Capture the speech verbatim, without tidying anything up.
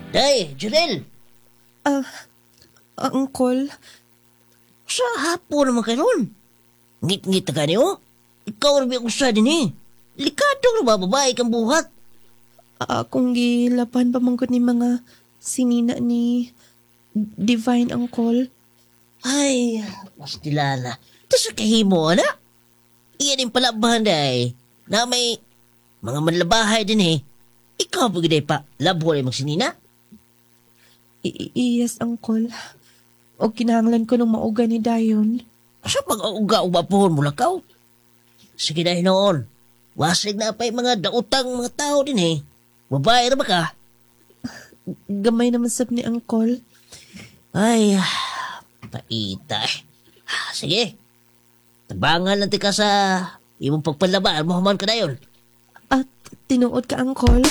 Day, Junel! Ah, Uncle, Sa hapon naman kayo ron. Ngit-ngit na ka niyo. Ikaw rin ba usa din eh. Likadong na ba babae kang buhat? Akong gilapan pa man gud ni mga sinina ni Divine, Uncle. Ay, pastilala. Tapos kahimo, ana? Iyan yung palabahan day. Na may mga manlabahay din eh. Ikaw pa gid pa, labo rin magsinina. I- i- yes, Uncle. O kinahanglan ko nung mauga ni Dayon. Sa pag-auga o bapuhon mo lakaw? Sige na hinoon. Wasig na pa'y mga dautang mga tao din eh. Babae ra ba ka? Gamay naman sab ni Uncle. Ay, paita eh. Ah, sige. Tabangan lang ti ka sa imong pagpalaba. Mo human ka na yun. At tinuod ka, Uncle.